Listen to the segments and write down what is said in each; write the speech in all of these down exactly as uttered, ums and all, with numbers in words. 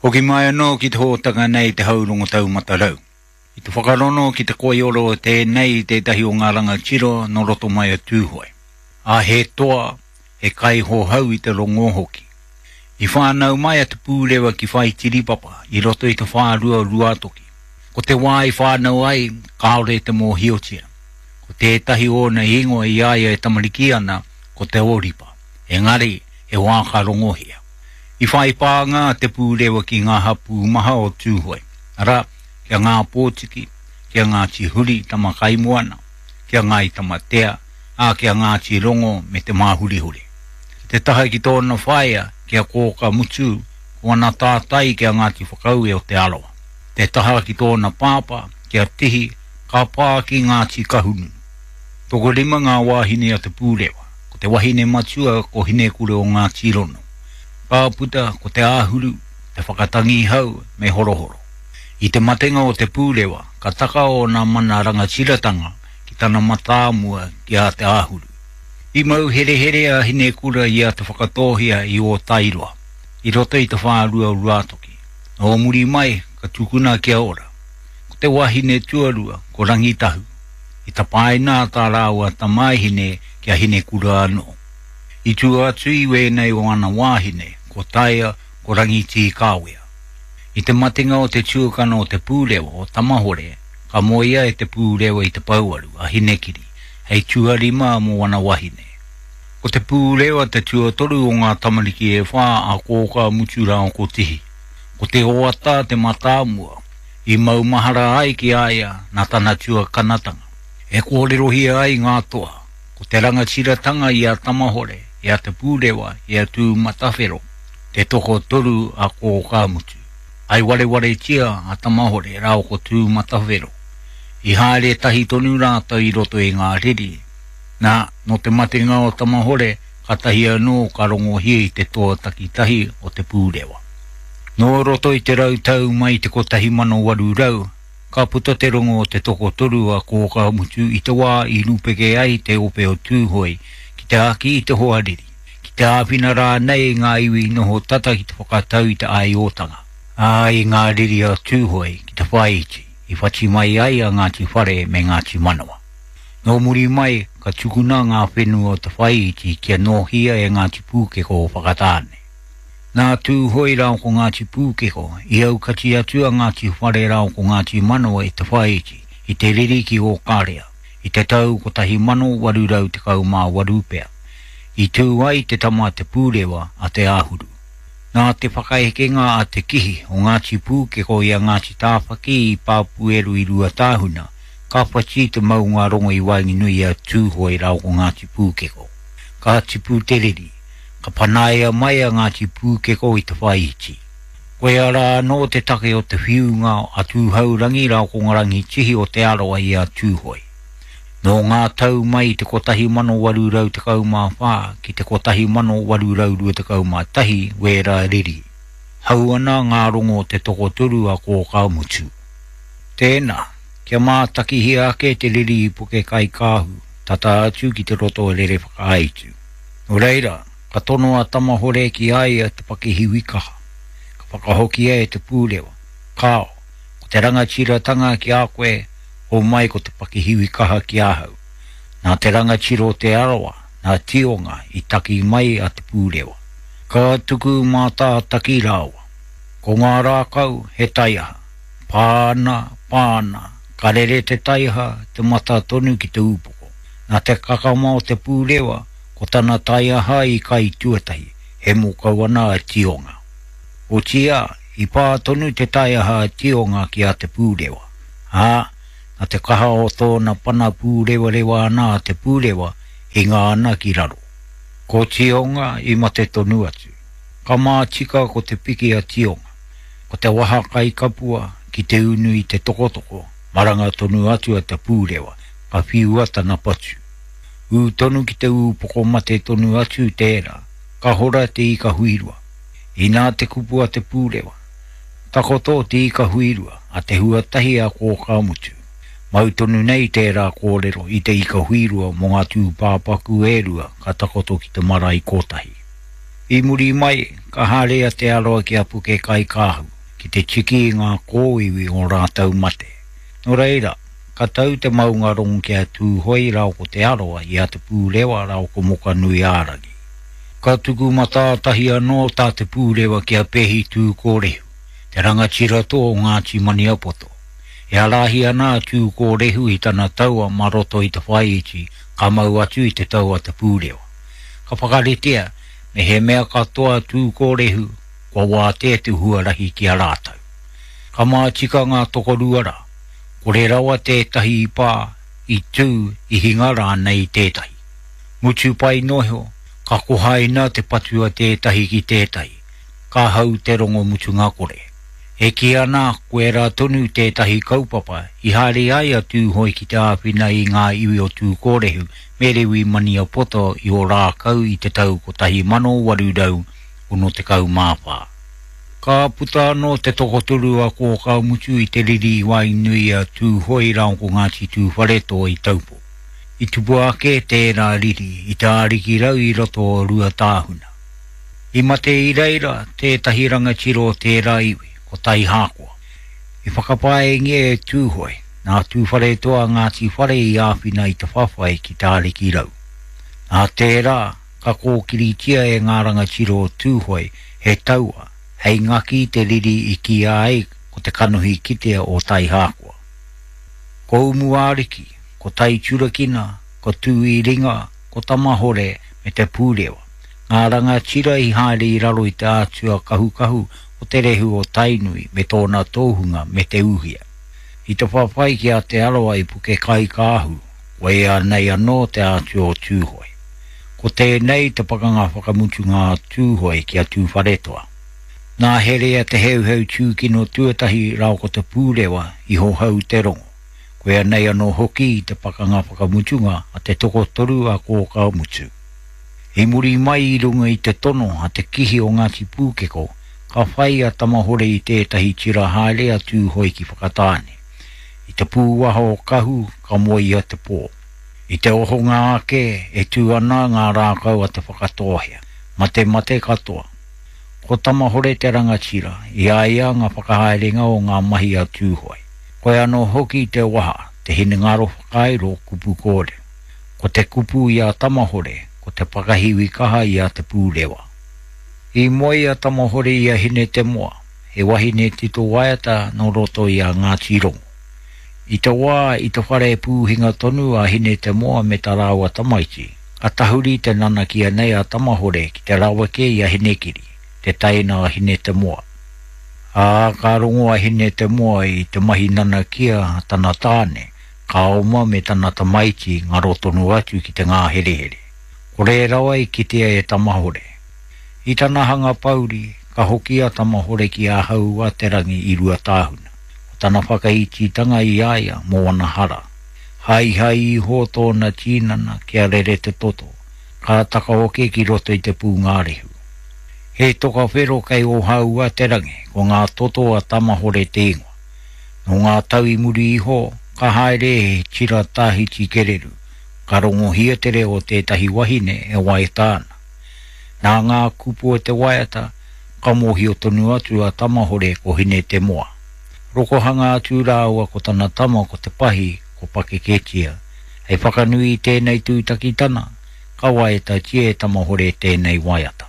Hoki mai anō ki te hōtaka nei te haurongo taumata rau. I te whakarono ki te koioro o tēnei i tētahi o ngā rangatira nō roto mai o Tūhoe. A he toa, he kaihohau i te rongo hoki. I whānau mai a Te Pūrewa ki Whaitiripapa i roto i te whārua Ruatoki. Ko te wā i whānau ai, kāore te mōhiotia. Ko tētahi ōna ingoa i a ia e tamariki ana, ko Te Oripa. Engari, he wā ka rongohia. I whai pānga Te Pūrewa ki ngā hapū maha o Tūhoe. Arā, kia Ngā Pōtiki, kia Ngāti Huri Tamakaimoana, kia Ngāi Tamatea, ā kia Ngāti Rongo me te Māhurihuri. Ki te taha ki tōna whaea, kia Kōka Mutu, ko ana tātai kia Ngāti Whakaue o Te Arawa. Te taha ki tōna pāpā, kia Tihi, ka pā ki Ngāti Kahungunu. Tokorima ngā wāhine a Te Pūrewa, ko te wahine matua ko Hinekura o Ngāti Rono. Ka puta ko Te Āhuru, te Whakatangihau me Horohoro. I te matenga o Te Pūrewa, ka taka ōna mana rangatiratanga ki tana matāmua ki a Te Āhuru. I mau herehere a Hinekura i a Te Whakatōhea i Ōtairoa, i roto i te whārua o Ruatoki. Nō muri mai, ka tukuna kia ora. Ko te wahine tuarua, ko Rangitahu. I tapaina tā rāua tamaihine ki a Hinekura anō. I tua atu i wēnei o ana wāhine, ko Taia, ko Rangitīkāwea. I te matenga o te tuakana o Te Pūrewa o Tamahore, ka moea e Te Pūrewa i te pouaru a Hinekiri, hei tuarima mō ana wahine. Ko Te Pūrewa te tuatoru o ngā tamariki e whā a Kōka Mutu rāua ko Tihi. Ko Te Oata te matāmua, i maumahara ai ki a ia nā tana tuakanatanga. E kōrerohia ai ngā toa, ko te rangatiratanga i a Tamahore, i a Te Pūrewa, i a Tūmatawhero, te tokotoru a Kōka Mutu. Ai warewaretia a Tamahore rāua ko Tūmatawhero. I haere tahi tonu rātou i roto i ngā riri. Nā, nō te matenga o Tamahore, ka tahi anō ka rongohia i te toa takitahi o Te Pūrewa. Nō roto i te rau tau mai i te kotahi mano waru rau, ka puta te rongo o te tokotoru a Kōka Mutu i te wā i rupeke ai te ope o Tūhoe ki te āki i te hoariri, ki te āwhina rānei i ngā iwi noho tata ki te whakatau i te aiotanga. Ā, i ngā riri a Tūhoe ki te whāiti, i whati mai ai a Ngāti Whare me Ngāti Manawa. Nō muri mai, ka tukuna ngā whenua o te whāiti kia nōhia e Ngāti Pūkeko o Whakatāne. Nā Tūhoe rāua ko Ngāti Pūkeko, i aukati atu a Ngāti Whare rāua ko Ngāti Manawa i te whāiti, i te riri ki Ōkarea, i te tau kotahi mano waru rau tekau mā waru pea. I tū ai te tama a Te Pūrewa a Te Āhuru. Nā te whakaekenga a Te Kihi o Ngāti Pūkeko i a Ngāti Tāwhaki i Pāpueru i Ruatāhuna, ka whati te maunga rongo i waenganui i a Tūhoe rāua ko Ngāti Pūkeko. Ka tipu te riri, ka panaia mai a Ngāti Pūkeko i te whāiti. Koia rā anō te take o te whiunga a Tūhourangi rāua ko Rangitihi o Te Arawa i a Tūhoe. Nō ngā tau mai i te kotahi mano waru rau tekau mā whā ki te kotahi mano waru rau rua tekau mā tahi wērā riri. Hau ana ngā rongo o te tokotoru a Kōka Mutu. Tēnā, kia mātakihia ake te riri i Puke Kaikāhu, tata atu ki te roto o Rere Whakaaitu. Nō reira, ka tono a Tamahore ki a ia te pakihiwi kaha. Ka whakahokia e Te Pūrewa, kāo, ko te rangatiratanga ki a koe, hō mai ko te pakihiwi kaha ki ahau. Nā te rangatira o Te Arawa, nā Tionga i taki mai a Te Pūrewa. Ka tuku mātātaki rāua. Ko ngā rākau he taiaha. Pāna, pāna, ka rere te taiaha te mata tonu ki te ūpoko. Nā te kakama o Te Pūrewa, ko tana taiaha i kai tuatahi, he mokau ana a Tionga. Otiia, i pā tonu te taiaha a Tionga ki a Te Pūrewa. Ā, nā te kaha o tōna pana pūrewarewa ana a Te Pūrewa, hinga ana ki raro. Ko Tionga i mate tonu atu. Ka mātika ko te piki a Tionga. Ko te waha kai kapua ki te unu i te tokotoko, maranga tonu atu a Te Pūrewa, ka whiua tana patu. Ū tonu ki te ūpoko mate tonu atu tērā, ka hora te ika huirua. Inā te kupu a Te Pūrewa. Takoto te ika huirua, a te huatahi a Kōka Mutu. Mau tonu nei tērā kōrero i te ika huirua mō ngā tūpāpaku e rua ka takoto ki te marae kotahi. I muri mai, ka haere a Te Arawa ki a Puke-kaikāhu, ki te tiki i ngā kōiwi o rātou mate. Nō reira, ka tau te maungarongo ki a Tūhoe rāua ko Te Arawa i a Te Pūrewa rāua ko Mokanui-ā-rangi. Ka tuku matātahi anō tā Te Pūrewa ki a Pehi Tūkōrehu, te rangatira toa o Ngāti Maniapoto. E ārahi ana a Tūkōrehu i tana taua mā roto i te whāiti ka mau atu i te tau a Te Pūrewa. Ka whakaritea, me he mea katoa a Tūkōrehu, kua wātea te huarahi ki a rātou. Ka mātika ngā tokorua rā, kore rawa tētahi i pā, i tū, i hinga rānei i tētahi. Mutu pai noa iho, ka kohaina te patu a tētahi ki tētahi, ka hau te rongo mutunga kore. E kī ana koirā tonu tētahi kaupapa i haere ai a Tūhoe ki te āwhina i ngā iwi o Tūkōrehu me Rewi Maniapoto i Ōrākau i te tau kotahi mano waru rau ono tekau mā whā. Ka puta anō te tokotoru a Kōkāmutu i te riri i waenganui i a Tūhoe rāua ko Ngāti Tūwharetoa i Taupō. I tupu ake tērā riri i te ārikirau i roto o Ruatāhuna. I mate i reira tētahi rangatira o tērā iwi, ko Taihākoa. I whakapaengia e Tūhoe, nā Tūwharetoa Ngāti Whare i āwhina i te whawhai ki te ārikirau. Nā tērā, ka kōkiritia e ngā rangatira o Tūhoe he taua, hei ngaki te riri i kīia ai ko te kanohi kitea o Taihākoa. Ko Umuariki, ko Taiturakina, ko Tūiringa, ko Tamahore me Te Pūrewa. Ngā rangatira i haere i raro i te ātua kahukahu o te rehu o Tainui me tōna tōhunga me Te Uhia. I te whawhai ki a Te Arawa i Puke-kaikāhu, koia nei anō te ātua o Tūhoe. Ko tēnei te pakanga whakamutunga a Tūhoe ki a Tūwharetoa. Nā Herea te heuheu tūkino tuatahi rāua ko Te Pūrewa i hohou te rongo. Koia nei anō hoki te pakanga whakamutunga a te tokotoru a Kōkāmutu. I muri mai i runga i te tono a te kihi o Ngāti Pūkeko, ka whai a Tamahore i tētahi tira haere a Tūhoe ki Whakatāne. I te pūwaha o Kahu ka moe ia te pō. I te ohonga ake e tū ana ngā rākau a Te Whakatōhea, matemate katoa. Ko Tamahore te rangatira, i a ia ngā whakahaerenga o ngā mahi a Tūhoe. Koe anō hoki te waha, te hinengaro whakairo kupu kōrero. Ko te kupu i a Tamahore, ko te pakahiwi kaha i a Te Pūrewa. I moe a Tamahore i a Hinetemoa, he wahine tito waiata nō roto i a Ngāti Rongo. I te wā i te whare pūhinga tonu a Hinetemoa me tā rāua tamaiti, ka tahuri te nanakia nei a Tamahore ki te raweke i a Hinekiri, te teina a Hinetemoa. Ā, ka rongo a Hinetemoa i te mahi nanakia a tana tāne, ka oma me tana tamaiti ngaro tonu atu ki te ngāherehere. Kore rawa i kitea e Tamahore. I tana hanga pauri, ka hoki a Tamahore ki a Hau-a-te-rangi i Ruatāhuna. Ko tana whakaititanga i a ia mō ana hara. Haihai iho tōna tīnana kia rere te toto, ka takaoke ki roto i te pūngārehu. He toka whero kei Ōhau-a-te-rangi, ko ngā toto a Tamahore te ingoa. Nō ngā tau i muri iho, ka haere he tira tāhiti kereru, ka rongohia te reo o tētahi wahine e waiata ana. Nā ngā kupu o te waiata, ka mōhio tonu atu a Tamahore ko Hinetemoa. Rokohanga atu rāua ko tana tama ko Te Pahi, ko Pakeketia. Hei whakanui i tēnei tūtakitana, ka waiatatia e Tamahore tēnei waiata.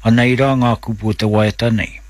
Anei rā ngā kupu o te waiata nei.